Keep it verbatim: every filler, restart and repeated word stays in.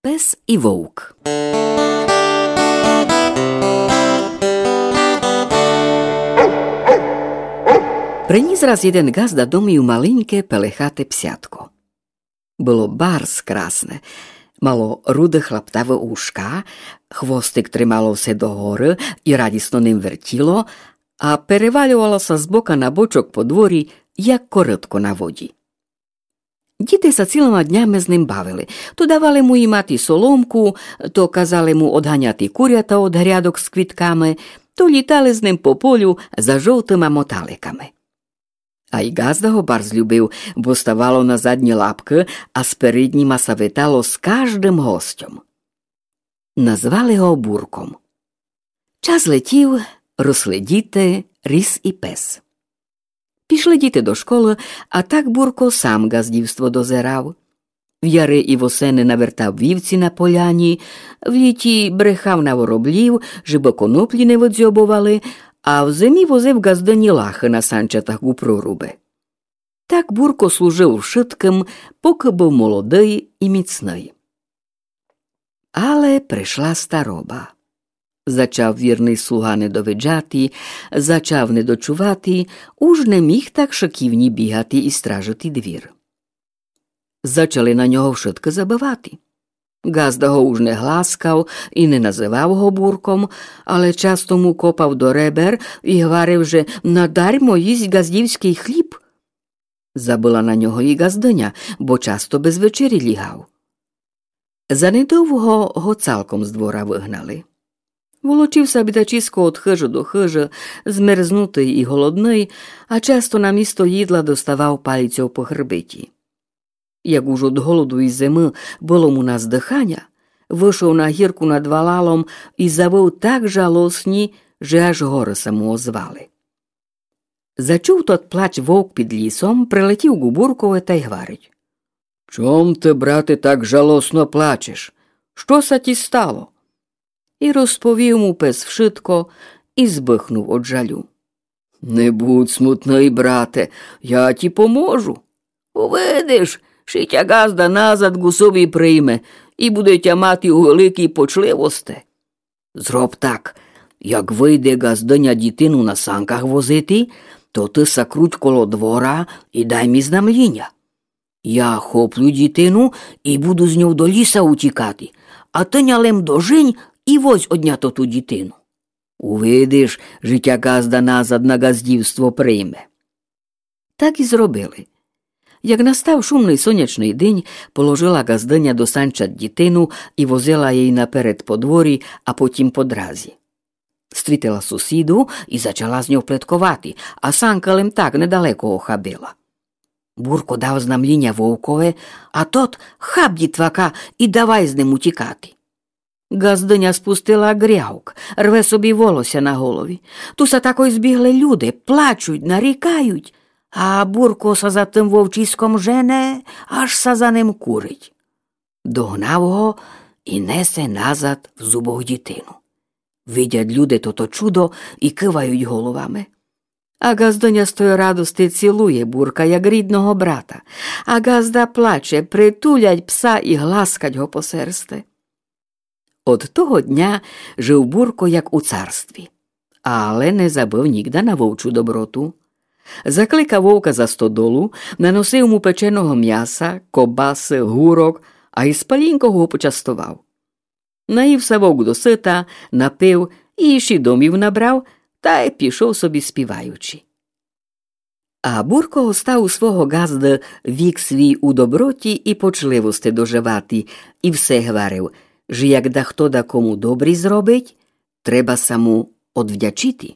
Пес и вовк. Приніс раз єден ґазда домів маленьке пелехате псятко. Было барз красне. Мало руде хлаптаве ушка, хвостик тримало все догоры и радісно ним вертіло, а перевальовало ся з бока на бочок по дворі, як корытко на воді. Діти ся цілыма днями з ним бавили. То давали му їмати соломку, то казали му одганяти курята од грядок з квітками, то літали з ним по полю за жовтыма моталиками. А й ґазда го барз любив, бо ставало на задні лапкы, а спередніма ся витало з каждым гостьом. Назвали го Бурком. Час летів, росли діти, ріс и пес. Пішли діти до школы, а так Бурко сам ґаздівство дозирав. В яри и восени навертав вівці на поляні, в літі брехав на вороблів, жебы коноплі не выдзьобовали, а в зимі возив ґаздыні лахы на санчатах у прорубы. Так Бурко служив вшыткым, покы быв молодый и міцный. Але пришла староба. Зачав вірный слуга недовиджати, зачав недочувати, уж не міг так шыківні бігати и стражити двір. Зачали на нього вшыткы забывати. Ґазда го уж не гласкав и не называв го Бурком, але часто му копав до ребер и гварив, же надармо їсть ґаздівськый хліб. Забыла на нього и ґаздыня, бо часто без вечері лігав. Занедовго го цалком з двора выгнали. Волочив ся бідачіско од хыжы до хыжы, змерзнутый и голодный, а часто на місто їдла доставав палицьов по хребеті. Як уж од голоду и зимы было му на здыханя, вышов на гірку над валалом и завыв так жалосні, же аж горы ся му озвали. Зачув тот плач вовк під лісом, прилетів ку Буркови тай гварить: «Чом ты, брате, так жалосно плачеш? Што ся ті стало?» И розповів му пес вшытко и збыхнув од жалю. «Не будь смутный, брате, я ті поможу. Увидиш, ши тя ґазда назад ку собі прийме, и буде тя мати у великій почливости. Зроб так, як выйде ґаздыня дітину на санках возити, то ты ся круть коло двора и дай ми знамліня. Я хоплю дітину и буду з ньов до ліса утікати, а ты ня лем дожень и возь од ня тоту дітину. Увидиш, жи тя ґазда назад на ґаздівство прийме». Так и зробили. Як настав шумный сонячный день, положила ґаздыня до санчат дітину и возила єй наперед по дворі, а потім по дразі. Стрітила сусіду и зачала з ньов плетковати, а санка лем так недалеко охабила. Бурко дав знамліня вовкови, а тот хап дітвака и давай з ним утікати. Ґаздыня спустила грявк, рве собі волося на голові. Ту ся такой збігли люди, плачуть, нарікають, а Бурко ся за тым вовчиськом жене, аж ся за ним курить. Догнав го и несе назад в зубох дітину. Видять люди тото чудо и кывають головами. А ґаздыня з той радости цілує Бурка, як рідного брата. А ґазда плаче, притулять пса и гласкать го по серсти. Од того дня жив Бурко як у царстві, але не забыв нігда на вовчу доброту. Закликав вовка за стодолу, наносив му печеного мяса, кобасы, гурок, а из палінков го почастовав. Наїв ся вовк досыта, напив и іщи домів набрав, тай пішов собі співаючи. А Бурко остав у свого ґазды вік свій у доброті и почливости доживати, и все гварив, же як дахто дакому добрі зробить, треба ся му одвдячити.